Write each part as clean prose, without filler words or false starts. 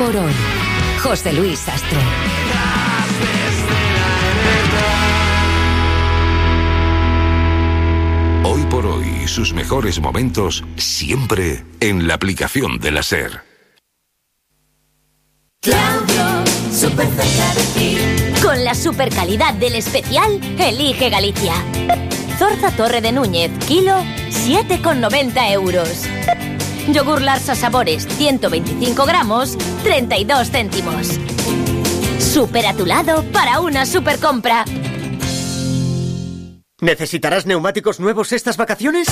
por hoy. José Luis Sastre. Hoy por hoy, sus mejores momentos siempre en la aplicación de la SER. Claudio, súper cerca de ti. Con la super calidad del especial, elige Galicia. Zorza Torre de Núñez, kilo, 7,90 euros. Yogur Larsa Sabores, 125 gramos, 32 céntimos. Súper a tu lado para una super compra. ¿Necesitarás neumáticos nuevos estas vacaciones?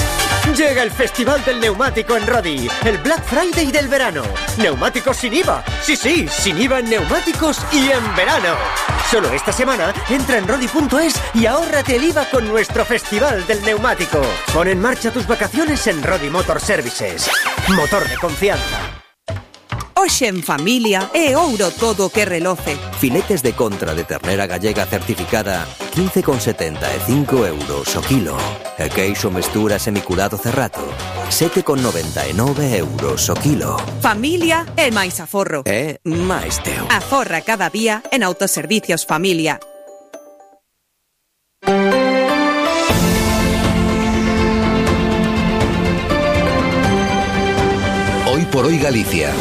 Llega el Festival del Neumático en Rodi, el Black Friday del verano. Neumáticos sin IVA. Sí, sin IVA en neumáticos y en verano. Solo esta semana entra en rodi.es y ahórrate el IVA con nuestro Festival del Neumático. Pon en marcha tus vacaciones en Rodi Motor Services. Motor de confianza. Hoxe en familia é ouro todo o que reloce. Filetes de contra de ternera gallega certificada 15,75 euros o kilo. E queixo mestura semiculado cerrato 7,99 euros o kilo. Familia é máis aforro. É máis teu. Aforra cada día en Autoservicios Familia. Hoy por hoy Galicia.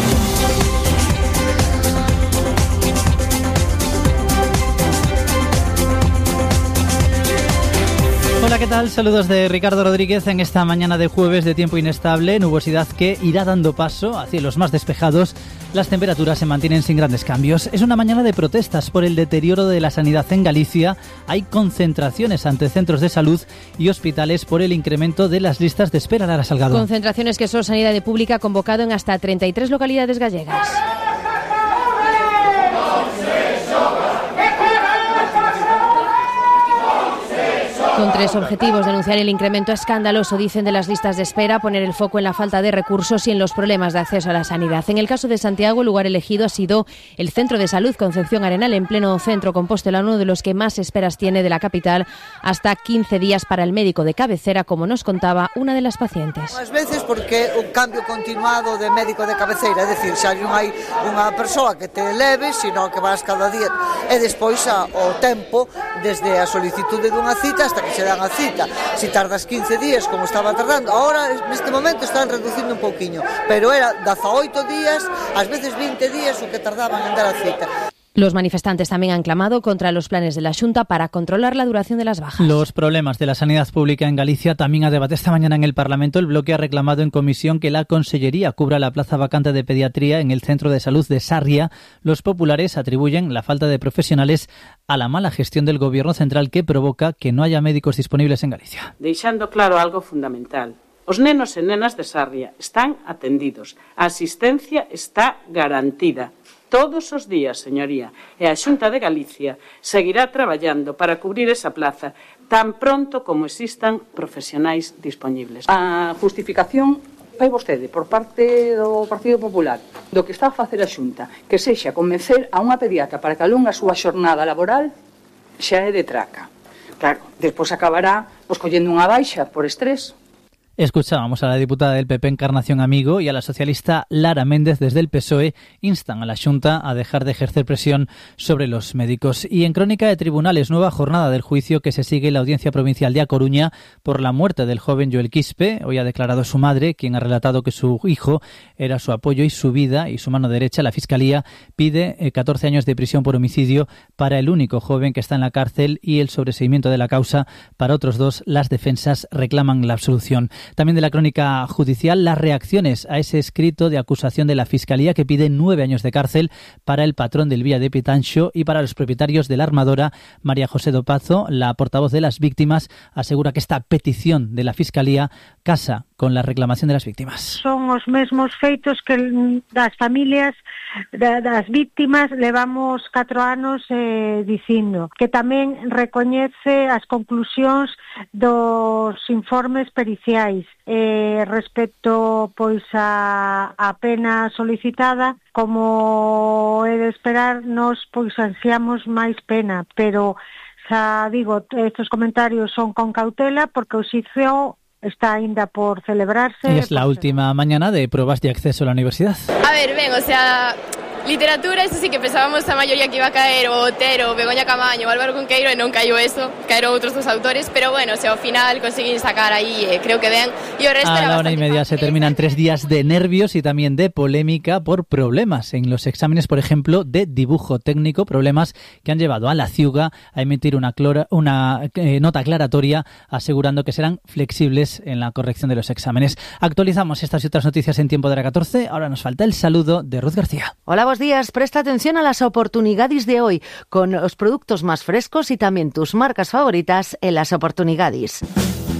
Hola, ¿qué tal? Saludos de Ricardo Rodríguez en esta mañana de jueves de tiempo inestable, nubosidad que irá dando paso a cielos más despejados. Las temperaturas se mantienen sin grandes cambios. Es una mañana de protestas por el deterioro de la sanidad en Galicia. Hay concentraciones ante centros de salud y hospitales por el incremento de las listas de espera. Lara Salgado. Concentraciones que Sanidade Pública ha convocado en hasta 33 localidades gallegas. Con tres objetivos: denunciar el incremento escandaloso, dicen, de las listas de espera, poner el foco en la falta de recursos y en los problemas de acceso a la sanidad. En el caso de Santiago, el lugar elegido ha sido el Centro de Salud Concepción Arenal, en pleno centro Compostela, uno de los que más esperas tiene de la capital, hasta 15 días para el médico de cabecera, como nos contaba una de las pacientes. Ás veces porque un cambio continuado de médico de cabeceira, é dicir, xa non hai unha persoa que te leve, sino que vas cada día, e despois o tempo desde a solicitude dunha cita hasta que se dan a cita. Si tardas 15 días, como estaba tardando, ahora neste momento están reducindo un pouquiño, pero era 18 días, ás veces 20 días o que tardaban en dar a cita. Los manifestantes también han clamado contra los planes de la Xunta para controlar la duración de las bajas. Los problemas de la sanidad pública en Galicia también a debate esta mañana en el Parlamento. El bloque ha reclamado en comisión que la Consellería cubra la plaza vacante de pediatría en el Centro de Salud de Sarria. Los populares atribuyen la falta de profesionales a la mala gestión del Gobierno central, que provoca que no haya médicos disponibles en Galicia. Deixando claro algo fundamental: os nenos e nenas de Sarria están atendidos, a asistencia está garantida todos os días, señoría, e a Xunta de Galicia seguirá traballando para cubrir esa plaza tan pronto como existan profesionais dispoñibles. A justificación vai vostede por parte do Partido Popular do que está a facer a Xunta, que sexa convencer a unha pediatra para que alongue a súa xornada laboral, xa é de traca. Claro, despois acabará collendo unha baixa por estrés. Escuchábamos a la diputada del PP Encarnación Amigo y a la socialista Lara Méndez desde el PSOE. Instan a la Xunta a dejar de ejercer presión sobre los médicos. Y en crónica de tribunales, nueva jornada del juicio que se sigue en la Audiencia Provincial de A Coruña por la muerte del joven Joel Quispe. Hoy ha declarado su madre, quien ha relatado que su hijo era su apoyo y su vida y su mano derecha. La Fiscalía pide 14 años de prisión por homicidio para el único joven que está en la cárcel y el sobreseimiento de la causa para otros dos. Las defensas reclaman la absolución. También de la crónica judicial, las reacciones a ese escrito de acusación de la Fiscalía que pide 9 años de cárcel para el patrón del Vía de Pitanxo y para los propietarios de la armadora. María José Dopazo, la portavoz de las víctimas, asegura que esta petición de la Fiscalía casa con la reclamación de las víctimas. Son os mesmos feitos que das familias das víctimas levamos 4 anos dicindo, que tamén recoñece as conclusións dos informes periciais respecto pois a pena solicitada. Como é de esperar, nos pois ansiamos máis pena, pero xa digo, estos comentarios son con cautela porque o xuízo está ainda por celebrarse. Es la última mañana de pruebas de acceso a la universidad. A ver, ben, o sea, Literatura, eso sí que pensábamos a maioría que iba a caer o Otero, Begoña Camaño, Álvaro Cunqueiro, e non caiu eso, caeron outros dos autores, pero bueno, se ao final conseguín sacar aí, creo que ben, e o resto a era la 1:30 se terminan 3 días de nervios y también de polémica por problemas en los exámenes, por ejemplo, de dibujo técnico, problemas que han llevado a la Ciuga a emitir una nota aclaratoria asegurando que serán flexibles en la corrección de los exámenes. Actualizamos estas y otras noticias en tiempo de la 14. Ahora nos falta el saludo de Ruth García. Hola, buenos días. Presta atención a las oportunidades de hoy con los productos más frescos y también tus marcas favoritas en las oportunidades.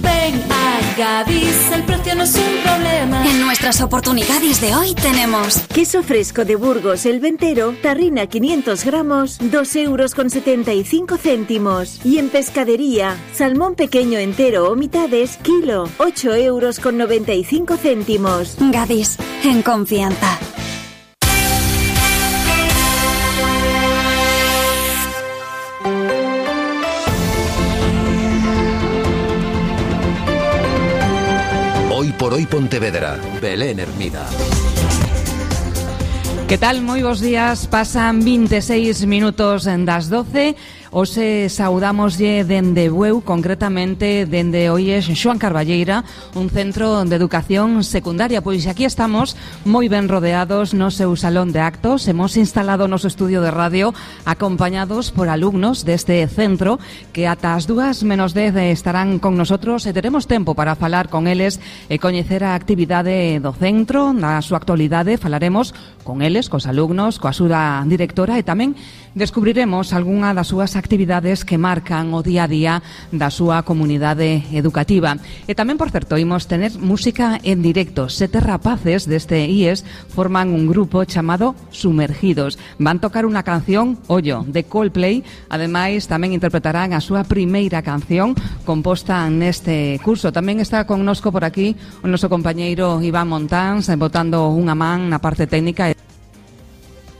Ven a Gadis, el precio no es un problema. En nuestras oportunidades de hoy tenemos queso fresco de Burgos, el ventero, tarrina 500 gramos, 2,75 €. Y en pescadería, salmón pequeño entero o mitades, kilo, 8,95 €. Gadis, en confianza. Hoy por hoy Pontevedra, Belén Hermida. Que tal? Moi bons días. Pasan 26 minutos das 12. Hoxe saudamoslle dende Bueu, concretamente dende Oies Xoan Carballeira, un centro de educación secundaria. Pois aquí estamos moi ben rodeados no seu salón de actos. Hemos instalado o noso estudio de radio acompañados por alumnos deste centro que ata as 2:10 estarán con nosotros e teremos tempo para falar con eles e coñecer a actividade do centro, na súa actualidade. Falaremos con eles, cos alumnos, coa súa directora e tamén descubriremos algunha das súas actividades que marcan o día a día da súa comunidade educativa. E tamén, por certo, imos tener música en directo. 7 rapaces deste IES forman un grupo chamado Sumergidos. Van tocar unha canción, ollo, de Coldplay. Ademais, tamén interpretarán a súa primeira canción composta neste curso. Tamén está connosco por aquí o noso compañeiro Iván Montáns, botando unha man na parte técnica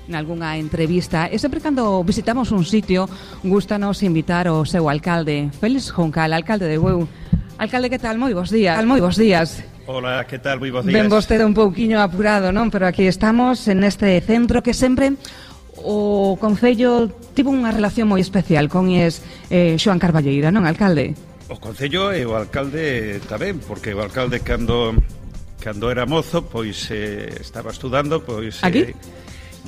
en algunha entrevista. E sempre cando visitamos un sitio, gústanos invitar o seu alcalde, Félix Juncal, alcalde de Bueu. Alcalde, que tal? Moi bons días. Moi bons días. Hola, que tal? Moi bons días. Ben vostede un pouquiño apurado, non? Pero aquí estamos en este centro que sempre o Concello tivo unha relación moi especial con Xoan Carballeira, non, alcalde? O Concello e o alcalde tamén, porque o alcalde cando era mozo, pois estaba estudando, pois... Aquí?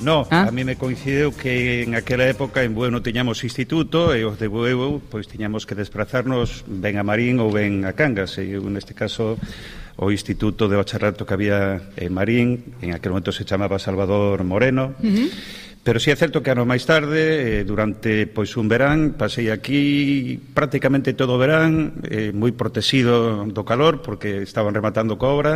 No, a mí me coincidiu que en aquela época en Bueu non tiñamos instituto e os de Bueu pois tiñamos que desplazarnos ben a Marín ou ben a Cangas, e neste caso o instituto de bacharelato que había en Marín, en aquel momento se chamaba Salvador Moreno. Pero si é certo que ano máis tarde, durante pois un verán, pasei aquí prácticamente todo o verán, moi protegido do calor, porque estaban rematando coa obra,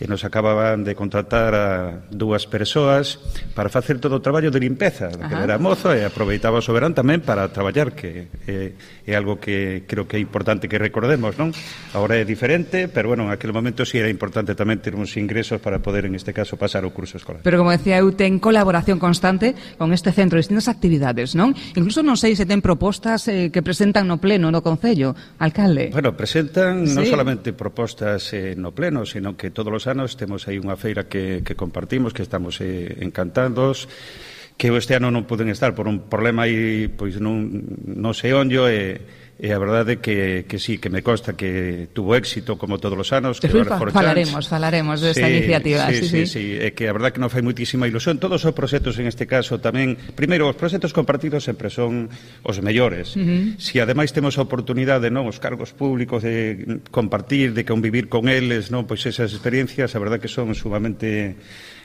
e nos acababan de contratar a 2 persoas para facer todo o traballo de limpeza, que era mozo, e aproveitaba o verán tamén para traballar, que é algo que creo que é importante que recordemos, non? Agora é diferente, pero bueno, en aquel momento sí era importante tamén ter uns ingresos para poder, en este caso, pasar o curso escolar. Pero como decía eu, ten colaboración constante con este centro, distintas actividades, non? Incluso non sei se ten propostas que presentan no pleno no Concello, alcalde. Bueno, presentan non solamente propostas no pleno, sino que todos os anos temos aí unha feira que compartimos, que estamos encantados, que este ano non poden estar por un problema aí, pois non sei onde, e a verdade que sí, que me consta que tuvo éxito como todos os anos. Falaremos desta iniciativa. Sí, é que a verdade que non fai muitísima ilusión. Todos os proxectos en este caso tamén, primeiro, os proxectos compartidos sempre son os mellores. Si ademais temos a oportunidade, non, os cargos públicos de compartir, de convivir con eles, non, pois esas experiencias, a verdade que son sumamente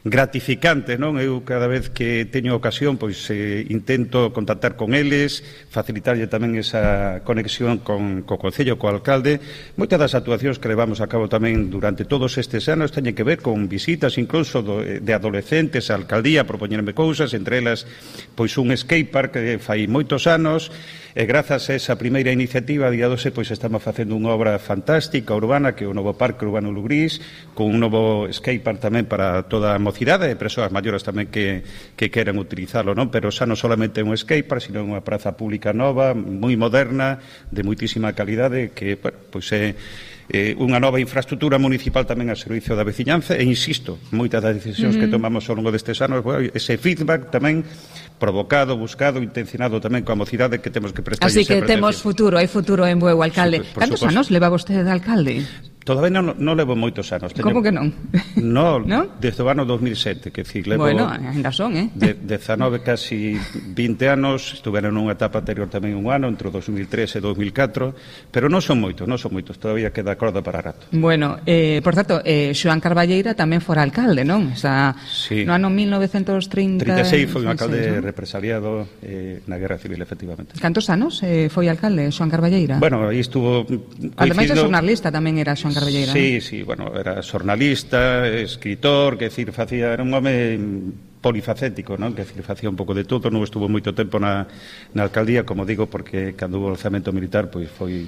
gratificante, non? Eu cada vez que teño ocasión pois intento contactar con eles, facilitarlle tamén esa conexión co Concello, co alcalde. Moitas das actuacións que levamos a cabo tamén durante todos estes anos teñen que ver con visitas incluso de adolescentes á alcaldía, propoñerme cousas, entre elas pois un skatepark que fai moitos anos. E grazas a esa primeira iniciativa, a día 12, pois estamos facendo unha obra fantástica urbana, que é o novo Parque Urbano Lugrís, con un novo skatepark tamén para toda a mocidade e persoas maiores tamén que queran utilizarlo, non? Pero xa non solamente un skatepark, sino unha praza pública nova, moi moderna, de moitísima calidade, que, bueno, pois é unha nova infraestructura municipal tamén a servicio da veciñanza, e insisto, moitas das decisións que tomamos ao longo destes anos, ese feedback tamén provocado, buscado, intencionado tamén coa mocidade que temos que prestar. Así que temos futuro, hai futuro en Bueu, alcalde. Cantos anos leva vostede de alcalde? Todavía non levo moitos anos. Como que non? Non, desde o ano 2007, que decir, levo... Bueno, ainda son, 19, casi 20 anos, estuveron nunha etapa anterior tamén un ano, entre 2003 e 2004, pero non son moitos, todavía queda corda para rato. Bueno, por certo, Xoán Carballeira tamén fora alcalde, non? O sea, no ano 1936 foi un alcalde represaliado na Guerra Civil, efectivamente. Cantos anos foi alcalde Xoán Carballeira? Bueno, aí estuvo... Ademais de xornalista tamén era Xoán Carballeira. Sí, bueno, era xornalista, escritor, que decir, era un home polifacético, non? Que decir, facía un pouco de todo, non estuvo moito tempo na alcaldía, como digo, porque cando hubo o alzamento militar, pois foi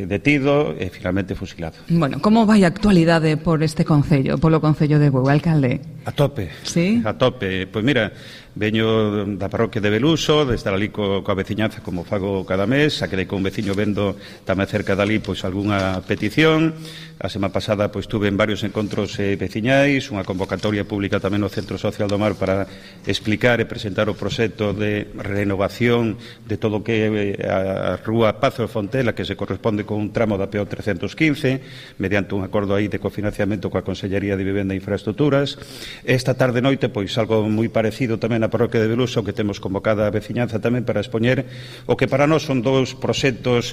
detido e finalmente fusilado. Bueno, como vai a actualidade por este concello, polo concello de Bueu, alcalde? A tope. Sí? A tope. Pois mira, veño da parroquia de Beluso, de estar ali coa veciñanza como fago cada mes, xa quedei con un veciño vendo tamén cerca dali pois algunha petición. A semana pasada pois tuve en varios encontros veciñais, unha convocatoria pública tamén no Centro Social do Mar para explicar e presentar o proxecto de renovación de todo o que a Rúa Pazo de Fontela, que se corresponde con un tramo da PO 315, mediante un acordo aí de cofinanciamento coa Consellería de Vivenda e Infraestructuras. Esta tarde noite pois algo moi parecido tamén na parroquia de Beluso, que temos convocada a veciñanza tamén para expoñer o que para nós son dous proxectos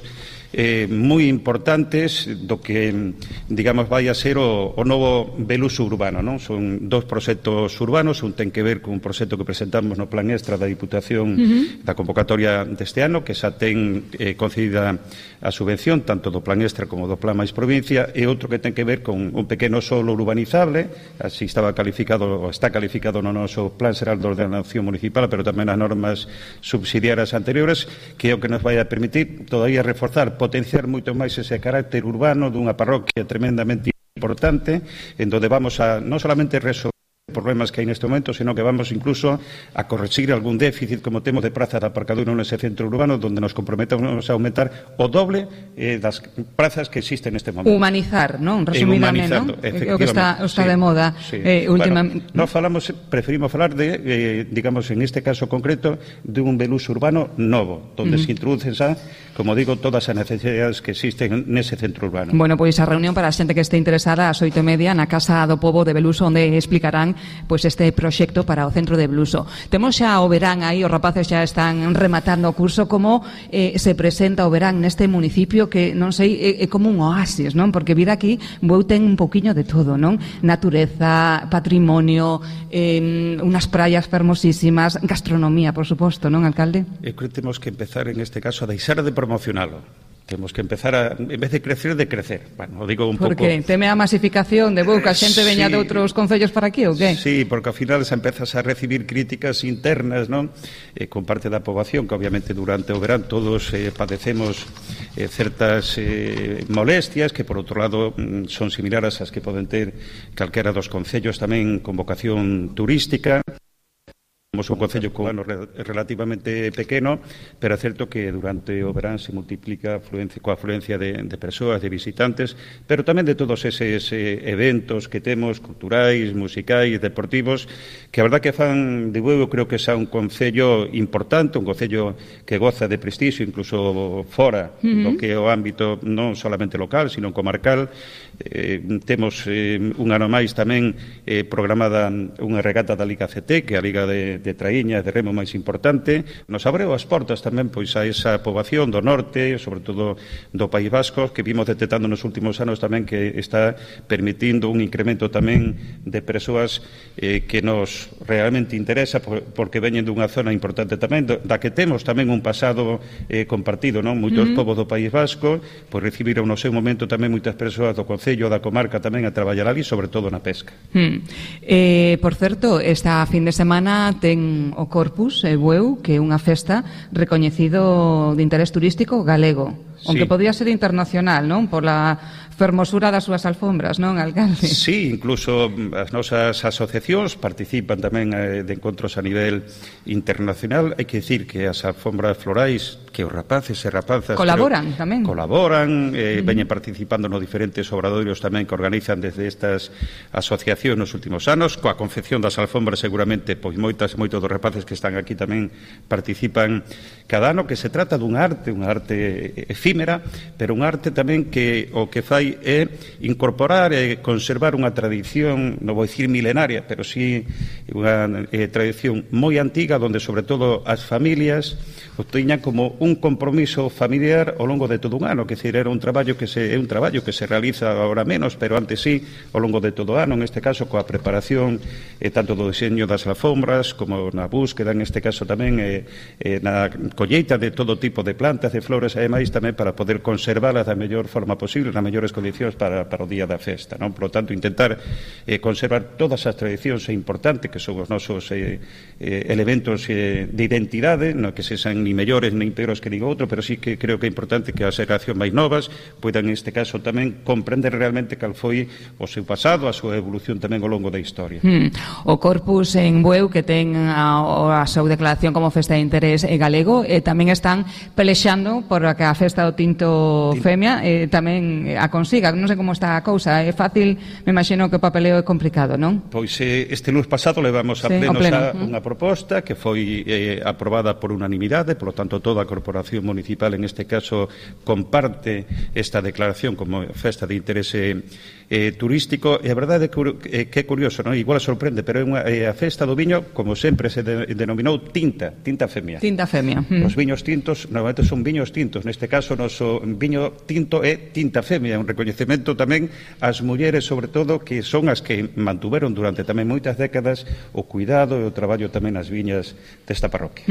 moi importantes do que, digamos, vai a ser o novo Beluso urbano, non? Son dous proxectos urbanos, un ten que ver con un proxecto que presentamos no Plan Extra da Diputación da convocatoria deste ano, que xa ten concedida a subvención tanto do Plan Extra como do Plan Mais Provincia, e outro que ten que ver con un pequeno solo urbanizable, así estaba calificado, ou está calificado no noso Plan Xeral de Ordenación Municipal, pero tamén as normas subsidiarias anteriores, que é o que nos vai a permitir todavía reforzar, potenciar moito máis ese carácter urbano dunha parroquia tremendamente importante, en donde vamos a non solamente resolver problemas que hai neste momento, sino que vamos incluso a corregir algún déficit como temos de prazas de aparcadura nese centro urbano, donde nos comprometemos a aumentar o doble das prazas que existen neste momento. Humanizar, non? Resumidamente, non? O que está de moda últimamente. Bueno, preferimos falar de, digamos, en este caso concreto, de un Beluso urbano novo, donde se introducen xa, como digo, todas as necesidades que existen nese centro urbano. Bueno, pois a reunión para a xente que este interesada ás 8:30 na Casa do Pobo de Beluso, onde explicarán pois este proxecto para o centro de Beluso. Temos xa o verán aí, os rapaces xa están rematando o curso. Como se presenta o verán neste municipio que, non sei, é como un oasis, non? Porque vir aquí, Bueu ten un pouquiño de todo, non? Natureza, patrimonio, unas praias fermosísimas, gastronomía, por suposto, non, alcalde? Eu creo que temos que empezar en este caso a deixar de promocionalo. Temos que empezar a, en vez de crecer. Bueno, o digo un pouco... Por que? Teme a masificación de Bueu, que a xente veña de outros concellos para aquí, ou que? Sí, porque ao final se empezas a recibir críticas internas, non? Con parte da poboación, que obviamente durante o verán todos padecemos certas molestias, que por outro lado son similares ás que poden ter calquera dos concellos tamén con vocación turística. Somos un concello con ano relativamente pequeno, pero é certo que durante o verán se multiplica coa afluencia de persoas, de visitantes, pero tamén de todos eses eventos que temos, culturais, musicais, deportivos, que a verdad que fan de Bueu, creo que xa un concello importante, un concello que goza de prestixio, incluso fora do que é o ámbito non solamente local, sino comarcal. Temos un ano máis tamén programada unha regata da Liga CT, que é a Liga de traíñas, de remo máis importante. Nos abreu as portas tamén pois a esa poboación do norte, sobre todo do País Vasco, que vimos detectando nos últimos anos tamén que está permitindo un incremento tamén de persoas que nos realmente interesa, porque veñen dunha zona importante tamén, da que temos tamén un pasado compartido, non? Moitos povos do País Vasco pois recibiron no seu momento tamén moitas persoas do concello, da comarca tamén a traballar ali, sobre todo na pesca. Por certo, esta fin de semana ten o Corpus Bueu, que é unha festa recoñecido de interés turístico galego, aunque podía ser internacional, non? Pola fermosura das súas alfombras, non, alcalde? Sí, incluso as nosas asociacións participan tamén de encontros a nivel internacional. Hai que dicir que as alfombras florais, que os rapaces e rapazas colaboran tamén. Colaboran, veñen participando nos diferentes obradoiros tamén que organizan desde estas asociacións nos últimos anos. Coa confección das alfombras seguramente pois moitos dos rapaces que están aquí tamén participan cada ano, que se trata dunha arte efímera, pero unha arte tamén que o que fai é incorporar e conservar unha tradición, non vou dicir milenaria, pero sí unha tradición moi antiga, onde sobre todo as familias o teñan como un compromiso familiar ao longo de todo un ano, que decir, era un traballo que se realiza agora menos, pero antes sí, ao longo de todo o ano, en este caso coa preparación tanto do diseño das alfombras como na búsqueda, en este caso tamén na colleita de todo tipo de plantas, de flores, e ademais tamén para poder conservalas da mellor forma posible, nas mellores condicións para o día da festa, non? Por lo tanto, intentar conservar todas as tradicións é importante, que son os nosos elementos de identidade, non que se sean ni mellores nin peores que nin outro, pero sí que creo que é importante que as xeracións máis novas poidan, neste caso, tamén comprender realmente cal foi o seu pasado, a súa evolución tamén ao longo da historia. O Corpus en Bueu, que ten a súa declaración como festa de interés galego, tamén están pelexando por que a festa do Tinto Femia tamén a consiga. Non sei como está a cousa, é fácil, me imagino que o papeleo é complicado, non? Pois este lunes pasado levamos a pleno unha proposta que foi aprobada por unanimidade, por lo tanto toda a corporación municipal en este caso comparte esta declaración como festa de interese turístico, e a verdade é que é curioso, non? Igual sorprende, pero é a festa do viño, como sempre se denominou tinta femia. Tinta femia. Os viños tintos normalmente son viños tintos, neste caso o noso viño tinto é tinta femia, un recoñecemento tamén ás mulleres, sobre todo, que son as que mantuveron durante tamén moitas décadas o cuidado e o traballo tamén nas viñas desta parroquia.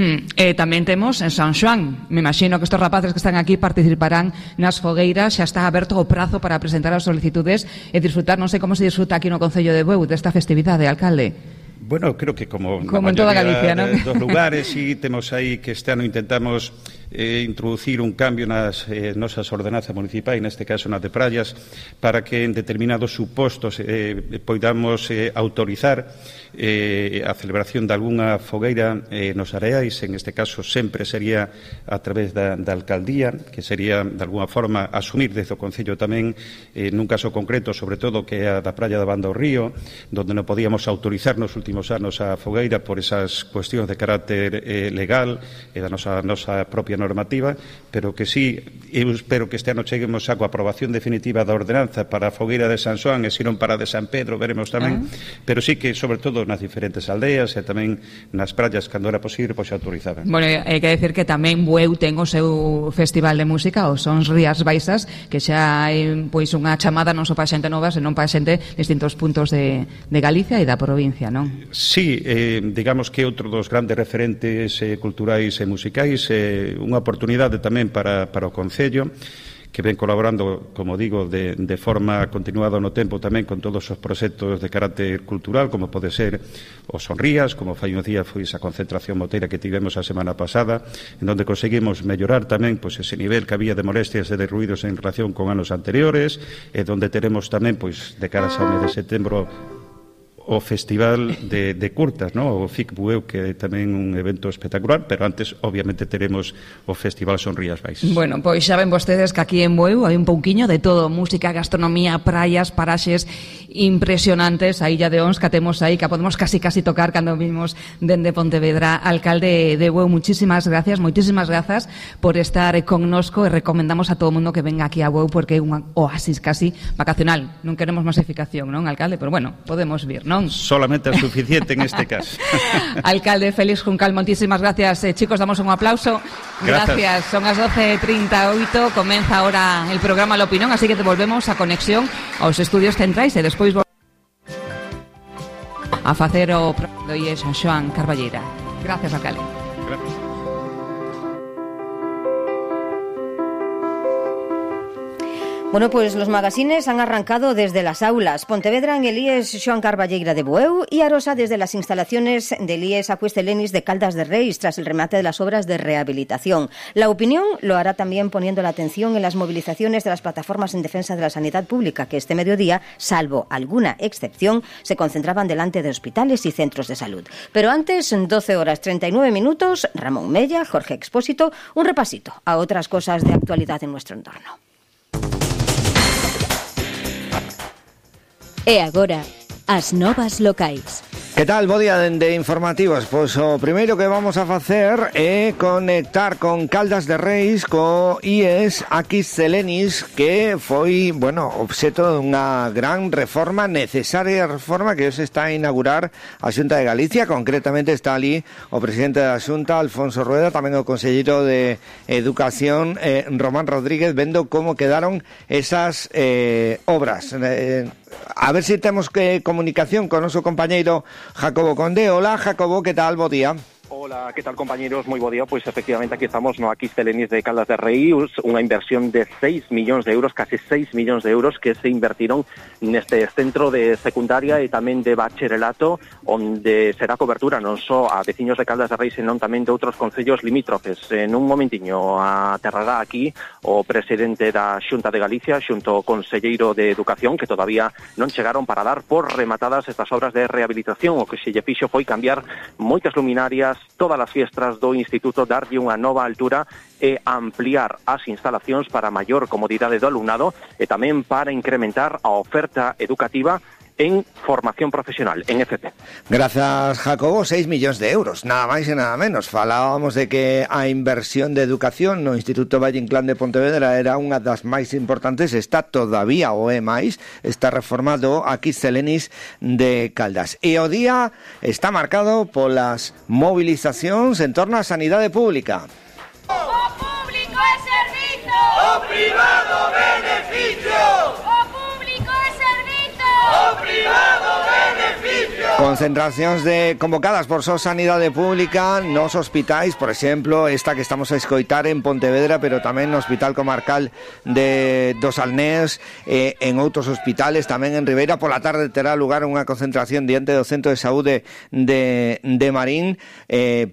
Tamén temos en San Xoán, me imagino que estos rapaces que están aquí participarán nas fogueiras, xa está aberto o prazo para presentar as solicitudes e disfrutar, non sei como se disfruta aquí no Concello de Bueu desta festividade, alcalde. Bueno, creo que como en toda Galicia, ¿no? Dos lugares, sí, temos aí que este ano intentamos introducir un cambio nas nosas ordenanzas municipais, neste caso nas de praias, para que en determinados supostos poidamos autorizar a celebración de algunha fogueira nos areais, en este caso sempre sería a través da alcaldía, que sería de alguna forma asumir desde o Concello tamén nun caso concreto, sobre todo que é a da praia da Banda do Río, donde non podíamos autorizar nos últimos anos a fogueira por esas cuestións de carácter legal e da nosa propia normativa, pero que sí, eu espero que este ano cheguemos a coa aprobación definitiva da ordenanza para a fogueira de San Xoán e se non para a de San Pedro, veremos tamén, pero sí que sobre todo nas diferentes aldeas e tamén nas praias, cando era posible, pois se autorizaban. Bueno, hai que decir que tamén Bueu ten o seu festival de música, os Sons Rías Baixas, que xa hai pois unha chamada non só para xente nova, senón para xente de distintos puntos de Galicia e da provincia, non? Sí, digamos que outro dos grandes referentes culturais e musicais, unha oportunidade tamén para o Concello, que ven colaborando, como digo, de forma continuada no tempo tamén con todos os proxectos de carácter cultural, como pode ser os Sonrías, como fai un día foi esa concentración moteira que tivemos a semana pasada, en donde conseguimos mellorar tamén pois ese nivel que había de molestias e de ruidos en relación con anos anteriores, e donde teremos tamén pois de cara ao mes de setembro o Festival de Curtas, ¿no? O FIC Bueu, que é tamén un evento espectacular, pero antes, obviamente, teremos o Festival Sonrías Baixas. Bueno, pois xa ven vostedes que aquí en Bueu hai un pouquiño de todo, música, gastronomía, praias, paraxes impresionantes, a Illa de Ons que temos aí, que podemos casi tocar cando vimos dende Pontevedra. Alcalde de Bueu, moitísimas grazas por estar connosco, e recomendamos a todo o mundo que venga aquí a Bueu porque é un oasis casi vacacional. Non queremos masificación, non, alcalde? Pero bueno, podemos vir, non? Solamente é suficiente en este caso. Alcalde Félix Juncal, moitísimas gracias. Chicos, damos un aplauso. Gracias. Son as 12:38, comeza ahora el programa La Opinión, así que te volvemos a conexión aos estudios centrais e despois a facer o programa de San Xoán Carballeira. Gracias, alcalde. Gracias. Bueno, pues los magazines han arrancado desde las aulas. Pontevedra en el IES Xoán Carballeira de Bueu y Arosa desde las instalaciones del IES Acuestelenis de Caldas de Reis tras el remate de las obras de rehabilitación. La opinión lo hará también poniendo la atención en las movilizaciones de las plataformas en defensa de la sanidad pública que este mediodía, salvo alguna excepción, se concentraban delante de hospitales y centros de salud. Pero antes, 12 horas 39 minutos, Ramón Mella, Jorge Expósito, un repasito a otras cosas de actualidad en nuestro entorno. E agora, as novas locais. Que tal, bo día de informativos? Pois o primeiro que vamos a facer é conectar con Caldas de Reis co IES Acuestelenis, que foi, obxeto dunha gran reforma, necesaria reforma que hoxe está a inaugurar a Xunta de Galicia. Concretamente está ali o presidente da Xunta, Alfonso Rueda, tamén o conselleiro de Educación, Román Rodríguez, vendo como quedaron esas obras. A ver se temos comunicación con o noso compañeiro Jacobo Conde. Hola, Jacobo, que tal? Bo día. Hola, ¿qué tal, compañeros? Muy bo día. Pois efectivamente aquí estamos no Acuestelenis de Caldas de Reis, unha inversión de 6 millóns de euros, case 6 millóns de euros que se invertiron neste centro de secundaria e tamén de bacharelato, onde será cobertura non só a veciños de Caldas de Reis, senón tamén de outros concellos limítrofes. En un momentiño aterrará aquí o presidente da Xunta de Galicia xunto ao conselleiro de Educación, que todavía non chegaron para dar por rematadas estas obras de rehabilitación. O que se lle fixo foi cambiar moitas luminarias, todas as fiestras do instituto, darlle unha nova altura e ampliar as instalacións para maior comodidade do alumnado e tamén para incrementar a oferta educativa en formación profesional, en FP. Gracias, Jacobo. 6 millóns de euros, nada máis e nada menos. Falábamos de que a inversión de educación no Instituto Valle Inclán de Pontevedra era unha das máis importantes, está todavía o é máis, está reformado Acuestelenis de Caldas. E o día está marcado polas movilizacións en torno á sanidade pública. O público é servizo, o privado beneficio. O privado beneficio. Concentracións convocadas por Só Sanidade Pública nos hospitais, por exemplo, esta que estamos a escoitar en Pontevedra, pero tamén no Hospital Comarcal dos Alnés, en outros hospitales, tamén en Ribeira. Pola tarde terá lugar unha concentración diante do Centro de Saúde de Marín,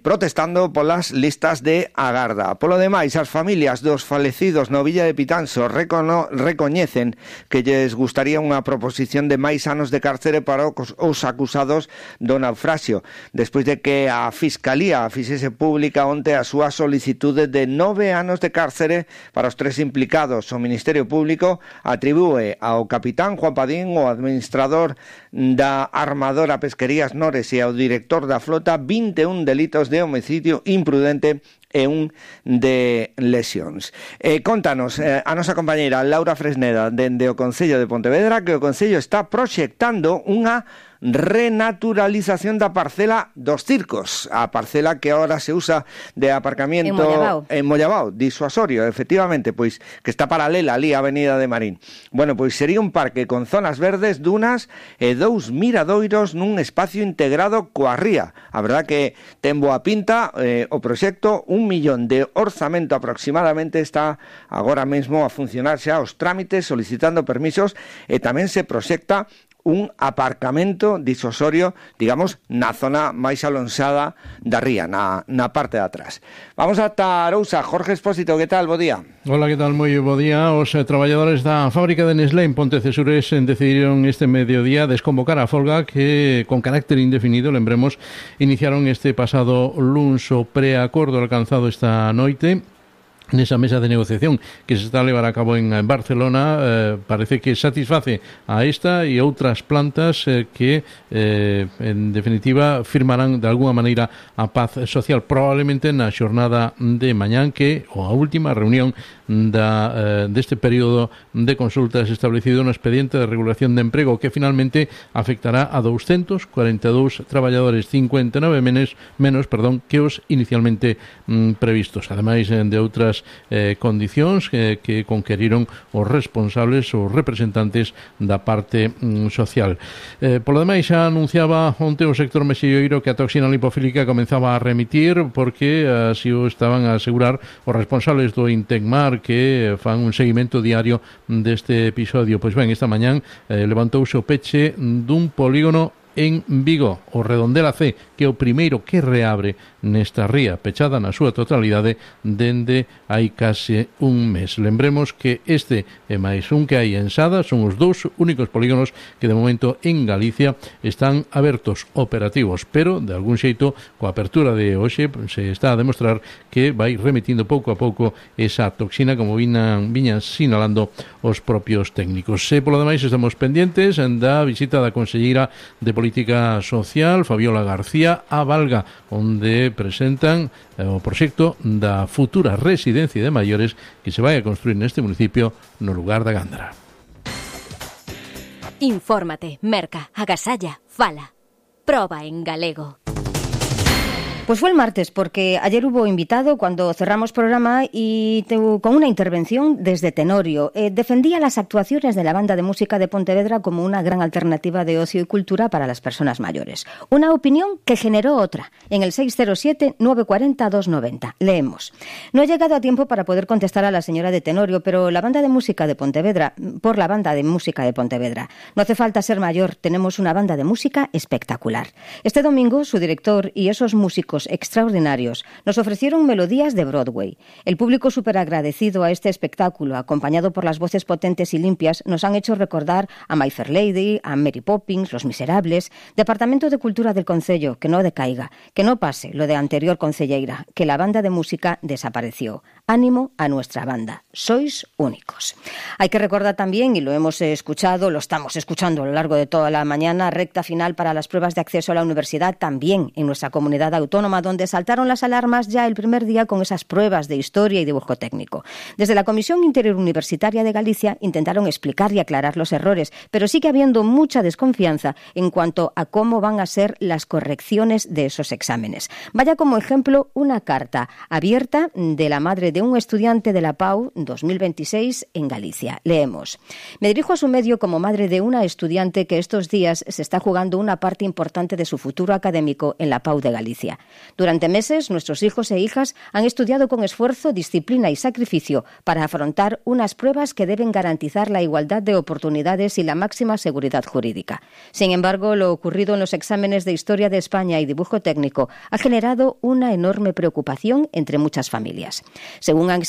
protestando polas listas de agarda. Polo demais, as familias dos falecidos no Villa de Pitanso recoñecen que lles gustaría unha proposición de máis anos de cárcere para os acusados do naufraxio, despois de que a Fiscalía fixese pública onte a súa solicitude de 9 anos de cárcere para os 3 implicados. O Ministerio Público atribúe ao capitán Juan Padín, o administrador da armadora Pesquerías Nores, e ao director da flota 21 delitos de homicidio imprudente e un de lesións. Contanos a nosa compañeira Laura Fresneda dende o Concello de Pontevedra que o Concello está proxectando unha renaturalización da parcela dos circos, a parcela que ahora se usa de aparcamiento en Mollabao, disuasorio, efectivamente, pois que está paralela ali á Avenida de Marín. Bueno, pois sería un parque con zonas verdes, dunas e 2 miradoiros nun espacio integrado coa ría. A verdad que ten boa pinta o proxecto, 1 millón de orzamento aproximadamente, está agora mesmo a funcionar xa os trámites solicitando permisos e tamén se proxecta un aparcamento disuasorio, digamos, na zona máis alonsada da ría, na parte de atrás. Vamos ata Arousa. Jorge Expósito, que tal? Bo día. Hola, que tal? Moi bo día. Os traballadores da fábrica de Nestlé en Pontecesures decidiron este mediodía desconvocar a folga que, con carácter indefinido, lembremos, iniciaron este pasado luns. O preacordo alcanzado esta noite nesa mesa de negociación que se está a levar a cabo en Barcelona parece que satisface a esta e outras plantas que en definitiva firmarán de alguna maneira a paz social, probablemente na xornada de mañán, que a última reunión deste período de consultas establecido no expediente de regulación de emprego, que finalmente afectará a 242 traballadores, 59 menos que os inicialmente previstos, ademais de outras estas condicións que conqueriron os responsables, os representantes da parte social. Polo demais, xa anunciaba onte o sector mexilloiro que a toxina lipofílica comenzaba a remitir, porque así o estaban a asegurar os responsables do Intecmar, que fan un seguimento diario deste episodio. Pois ben, esta mañán levantouse o peche dun polígono en Vigo, o Redondela C, que é o primeiro que reabre nesta ría, pechada na súa totalidade dende hai case un mes. Lembremos que este e máis un que hai en Sada son os dous únicos polígonos que de momento en Galicia están abertos, operativos, pero de algún xeito, coa apertura de hoxe, se está a demostrar que vai remitindo pouco a pouco esa toxina, como viñan sinalando os propios técnicos. E polo demais estamos pendientes da visita da conselleira de Política Social, Fabiola García, a Valga, onde presentan o proxecto da futura residencia de maiores que se vai a construir neste municipio no lugar da Gándara. Infórmate, merca, agasalla, fala. Proba en galego. Pues fue el martes, porque ayer hubo invitado cuando cerramos programa y con una intervención desde Tenorio. Defendía las actuaciones de la Banda de Música de Pontevedra como una gran alternativa de ocio y cultura para las personas mayores. Una opinión que generó otra, en el 607-940-290. Leemos. No he llegado a tiempo para poder contestar a la señora de Tenorio, pero la Banda de Música de Pontevedra, por la Banda de Música de Pontevedra. No hace falta ser mayor, tenemos una banda de música espectacular. Este domingo, su director y esos músicos extraordinarios nos ofrecieron melodías de Broadway. El público súper agradecido a este espectáculo, acompañado por las voces potentes y limpias, nos han hecho recordar a My Fair Lady, a Mary Poppins, Los Miserables. Departamento de Cultura del Concello, que no decaiga, que no pase lo de anterior concelleira, que la banda de música desapareció. Ánimo a nuestra banda, sois únicos. Hay que recordar también, y lo hemos escuchado, lo estamos escuchando a lo largo de toda la mañana, recta final para las pruebas de acceso a la universidad también en nuestra comunidad autónoma, donde saltaron las alarmas ya el primer día con esas pruebas de historia y dibujo técnico. Desde la Comisión Interuniversitaria de Galicia intentaron explicar y aclarar los errores, pero sigue habiendo mucha desconfianza en cuanto a cómo van a ser las correcciones de esos exámenes. Vaya como ejemplo una carta abierta de la madre de un estudiante de la PAU 2026 en Galicia. Leemos. Me dirijo a su medio como madre de una estudiante que estos días se está jugando una parte importante de su futuro académico en la PAU de Galicia. Durante meses, nuestros hijos e hijas han estudiado con esfuerzo, disciplina y sacrificio para afrontar unas pruebas que deben garantizar la igualdad de oportunidades y la máxima seguridad jurídica. Sin embargo, lo ocurrido en los exámenes de Historia de España y Dibujo Técnico ha generado una enorme preocupación entre muchas familias. Según han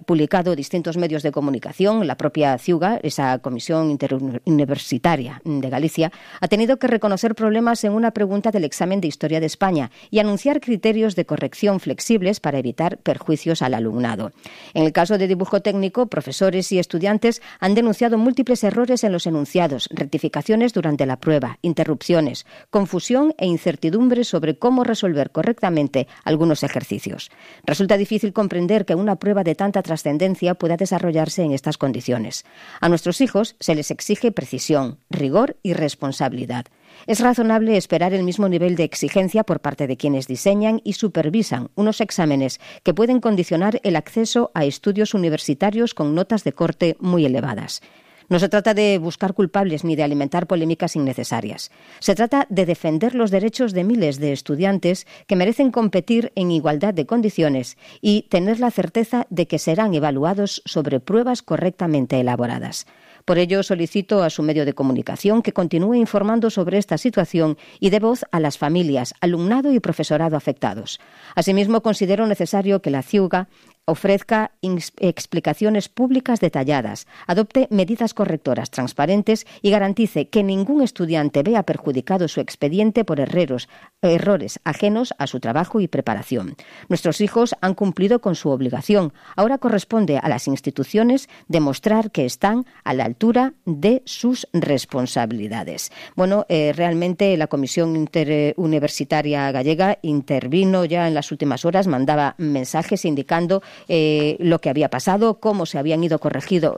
publicado distintos medios de comunicación, la propia CIUGA, esa Comisión Interuniversitaria de Galicia, ha tenido que reconocer problemas en una pregunta del examen de Historia de España y anunciar criterios de corrección flexibles para evitar perjuicios al alumnado. En el caso de Dibujo Técnico, profesores y estudiantes han denunciado múltiples errores en los enunciados, rectificaciones durante la prueba, interrupciones, confusión e incertidumbre sobre cómo resolver correctamente algunos ejercicios. Resulta difícil comprender que una prueba de tanta trascendencia pueda desarrollarse en estas condiciones. A nuestros hijos se les exige precisión, rigor y responsabilidad. Es razonable esperar el mismo nivel de exigencia por parte de quienes diseñan y supervisan unos exámenes que pueden condicionar el acceso a estudios universitarios con notas de corte muy elevadas. No se trata de buscar culpables ni de alimentar polémicas innecesarias. Se trata de defender los derechos de miles de estudiantes que merecen competir en igualdad de condiciones y tener la certeza de que serán evaluados sobre pruebas correctamente elaboradas. Por ello, solicito a su medio de comunicación que continúe informando sobre esta situación y dé voz a las familias, alumnado y profesorado afectados. Asimismo, considero necesario que la CIUGA ofrezca explicaciones públicas detalladas, adopte medidas correctoras transparentes y garantice que ningún estudiante vea perjudicado su expediente por errores ajenos a su trabajo y preparación. Nuestros hijos han cumplido con su obligación. Ahora corresponde a las instituciones demostrar que están a la altura de sus responsabilidades. Bueno, realmente la Comisión Interuniversitaria Gallega intervino ya en las últimas horas, mandaba mensajes indicando lo que había pasado, cómo se habían ido corregido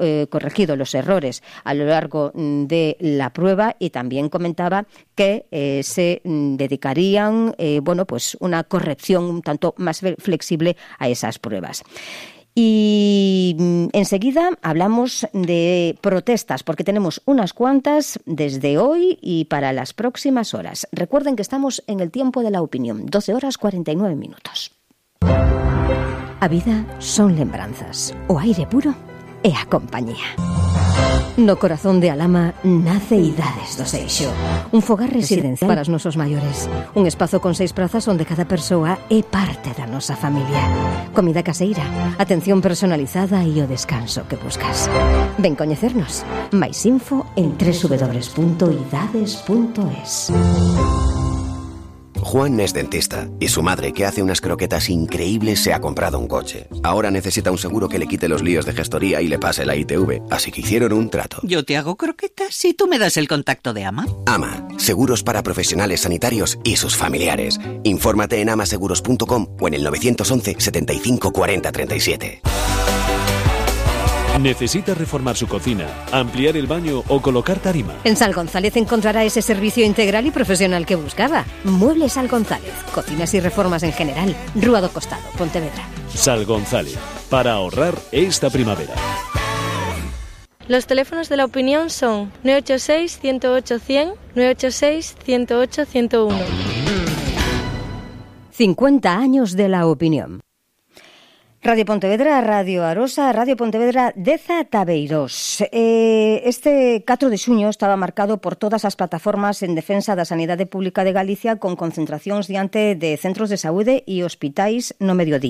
los errores a lo largo de la prueba y también comentaba que se dedicarían pues una corrección un tanto más flexible a esas pruebas. Y enseguida hablamos de protestas, porque tenemos unas cuantas desde hoy y para las próximas horas. Recuerden que estamos en el tiempo de la opinión, 12 horas 49 minutos. A vida son lembranzas, o aire puro e a compañía. No corazón de Alama nace Idades do Seixo, un fogar residencial para os nosos maiores, un espazo con 6 prazas onde cada persoa é parte da nosa familia. Comida caseira, atención personalizada e o descanso que buscas. Ven coñecernos. Mais info en www.idades.es. Juan es dentista y su madre, que hace unas croquetas increíbles, se ha comprado un coche. Ahora necesita un seguro que le quite los líos de gestoría y le pase la ITV, así que hicieron un trato. Yo te hago croquetas y tú me das el contacto de AMA. AMA, seguros para profesionales sanitarios y sus familiares. Infórmate en amaseguros.com o en el 911 75 40 37. ¿Necesita reformar su cocina, ampliar el baño o colocar tarima? En Sal González encontrará ese servicio integral y profesional que buscaba. Muebles Sal González, cocinas y reformas en general. Rúa do Costado, Pontevedra. Sal González, para ahorrar esta primavera. Los teléfonos de la opinión son 986-108-100, 986-108-101. 50 años de la opinión. Radio Pontevedra, Radio Arosa, Radio Pontevedra, Deza Tabeirós. Este 4 de xuño estaba marcado por todas as plataformas en defensa da sanidade pública de Galicia, con concentracións diante de centros de saúde e hospitais no mediodía.